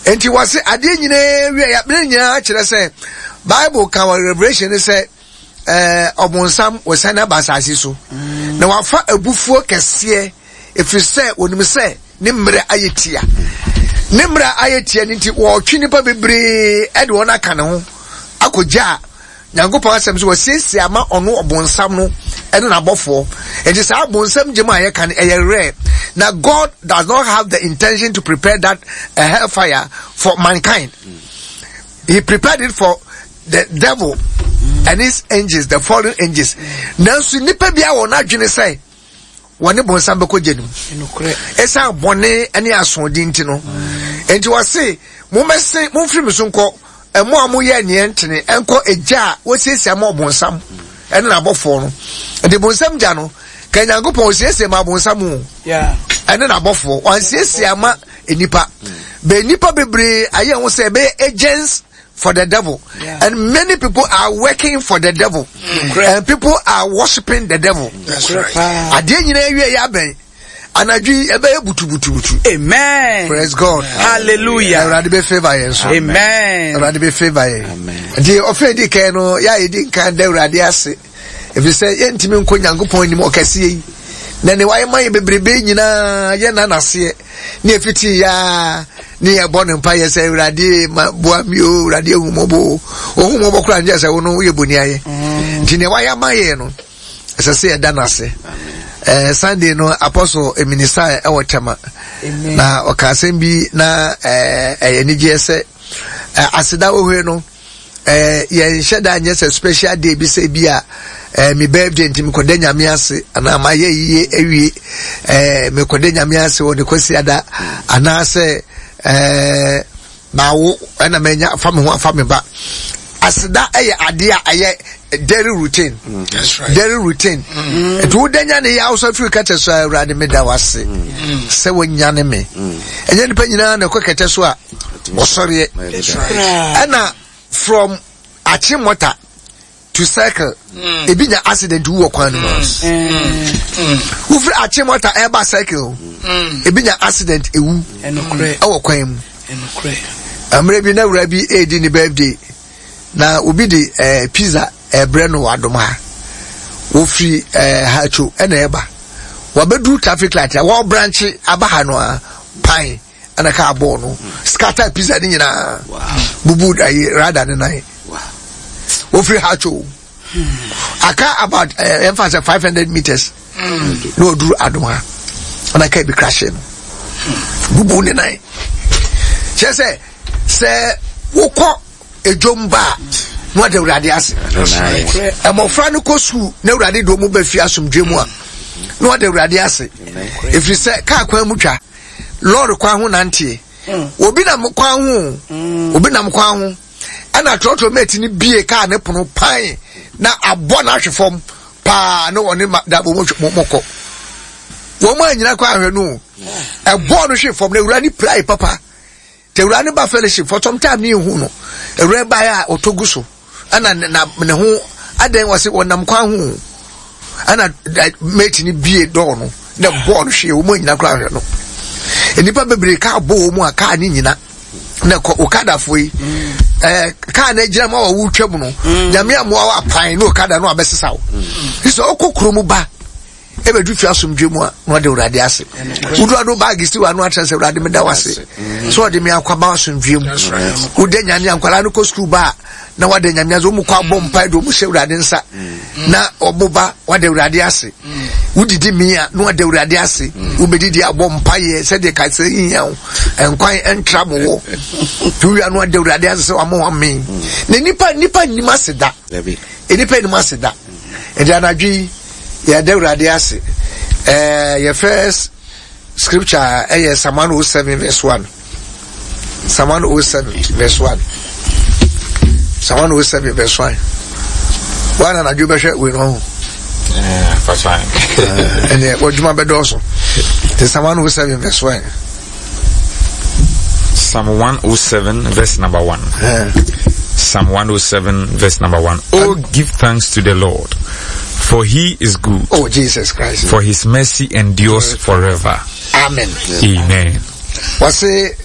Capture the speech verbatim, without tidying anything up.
Nti wɔse adeɛ nyinaa wie a, ne nyinaa kyerɛ sɛ Bible ka wɔ Revelation ne sɛ ɛɛ ɔbonsam wɔsan aba asase so mm. na wafa abufuo kɛseɛ, ɛfiri sɛ wɔnim sɛ ne mmerɛ ayɛ tia. Ne mmerɛ ayɛ tia no nti wɔretwe nnipa bebree de wɔn aka ne ho akɔgya a Nyankopɔn asɛm so wɔsiesie ama ɔno ɔbonsam no ɛne n'abɔfoɔ. Nti saa bonsam gyem a yɛka no ɛyɛ rare. Na God does not have the intention to prepare that uh, hellfire for mankind. He prepared it for the devil and his angels, the fallen angels. Nanso nipa bi a wɔn adwene sɛ wɔne bonsam bɛkɔ gya no mu ɛsiane bɔne ne asoɔden nti no, nti wɔse mommɛse momfiri me so nkɔ, ɛmo a moyɛ neɛ ntene, ɛnkɔ egya a wɔsiesie ama ɔbonsam ɛne n'abɔfoɔ no. Nti bonsam gya no ka Nyankopɔn ɔsiesie ma abonsam o ɛne n'abɔfoɔ, wansiesie ama nnipa. Bɛ nnipa bebree ayɛ ho sɛ ɛbɛyɛ agents for the devil. Yeah. And many people are working for the devil. Mm. And people are worshiping the devil. That's right. Adeɛ nyinaa wie yɛ abɛn. Anadwo yi ɛbɛyɛ butubutubutu. Amen. Praise God. Hallelujah. Awurade bɛ favour yɛn so. Amen. Awurade bɛ favour yɛn. Amen. Nti ɔfɛ di kan no yɛ a yɛdi nkan da Awurade ase. Efisɛ yɛntumi nkɔ Nyankopɔn anim ɔkɛseɛ yi. Na ne wayɛ ma yɛ bebrebe nyinaa yɛ na n'aseɛ. Ne efiti yaa ne yɛbɔ ne mpa yɛ sɛ Awurade ma boa mi o, Awurade ehu mɔbɔ o. Ohu mɔbɔ koraa nkyɛn sɛ wo no woyɛ boni ayɛ. Mm. Nti nea wayɛ ama yɛ no ɛsɛ sɛ yɛda no ase. Eh, Sunday no Apostle minister ɛwɔ Tema na ɔka asɛm bi na ɛyɛ eh, anigyeɛ sɛ eh, aseda wohue no eh, yɛnhyɛ da nyɛ sɛ special day bi sɛ bi a eh, me birthday nti mekɔda Nyame ase anaa mayɛ yie awie eh, mekɔda Nyame ase wɔ ne Kwasiada anaasɛ eh, mawo ɛna manya afa me ho afa me ba. Aseda ɛyɛ adeɛ a ɛyɛ daily routine. Mm. That's right. Daily routine. Mm. Nti woda nya ne yɛ awosɔ firi kɛtɛ so a, Awurade meda wase mm. sɛ wanyane me. Ɛnyɛ nipa nyinaa na ɛkɔ kɛtɛ so a wɔsɔreɛ. Ɛna from Achimota to Circle, mm. ebi nya accident wu wɔ kwan no mu. Wofiri Achimota ɛba Circle, ebi nya accident ewu ɛwɔ kwan mu. Mmerɛ bi na wura bi edi ne birthday na obi de ɛɛ eh, pizza ɛbrɛ no wɔ Adom ha. Wofiri ɛɛ eh, Hatcho ɛna ɛba, wabɛduru traffic light a wɔbrankye aba ha no a, pan ɛna kaa bɔɔl no scatter pizza ne nyinaa bubu ayi rada ne nan. Wofiri Hatcho aka about ɛɛ ɛnfa sɛ five hundred meters na ɔduru Adom ha ɛna kaa bi crash no bubu ne nan. Kyerɛ sɛ sɛ wokɔ edwom ba a na wada Awurade ase. Mmɔfra no kɔ sukuu na Awurade de wɔn ba fie asomdwe mu a na wada Awurade ase, ɛfiri sɛ kaa kwan mu twa, lɔɔre kwan ho nanteɛ, obi nam kwan ho, obi nam kwan ho ɛna trɔtrɔ mate no bie kaa ne pono pan na abɔ n'ahwe fam paa na wɔne ma dabo mo mo kɔ wɔn a nyina kɔ ahwɛ no ɛbɔɔ no hwe fam na awura ne pirae papa. Te awura no ba fellowship for some time ne ehu no, awura ba a ɔtɔ gu so ɛna na ne ho adɛn, wɔ se wɔnam kwan ho ɛna mate no bie dɔɔ no na bɔɔ no hwee. Wɔn nyina koraa ahwɛ no, nnipa bebree kaa bɔ wɔn mu a kaa ne nyina na kɔ okadafoɔ yi ɛɛ kaa na gyina mu a wɔwɔ twam no, Nyame amoa wɔ apan ne okada no abɛsesa wo sɛ ɔkɔ kurom ba ɛbɛdu fie asomdwe mu a na ɔde Awurade ase. Wodu ado baage si wano akyerɛ sɛ Awurade meda wo ase sɛ ɔde me akwaba asomdwe mu. Woda Nyame a nkwadaa no kɔ sukuu ba a na wada Nyame ase. Wɔn kɔ abɔ mpae de wɔn hyɛ Awurade nsa na wɔn ba wada Awurade ase. Wodidi mi a na wada Awurade ase. Wobɛdidi abɔ mpaeɛ sɛdeɛ kasa hia wo nkwan ntra mo wɔ wia no wada Awurade ase sɛ wama wamee. Na nipa nipa nnim ase da, nipa nnim ase da. Nti anadwo yi yɛda Awurade ase. Ɛɛ yɛ first scripture ɛyɛ Psalm one oh seven verse one. Psalm one oh seven verse one. Psalm one oh seven verse one. Wɔn anadwo bɛhwɛ wei no ho. Ɛnɛ wɔdwuma bɛdɔɔso. Te Psalm one oh seven verse one. Psalm one oh seven verse number one. Yeah. Psalm one oh seven verse number one. Oh, give thanks to the Lord, for he is good. Oh, Jesus Christ. For his mercy endures forever. Amen. Amen. Wɔse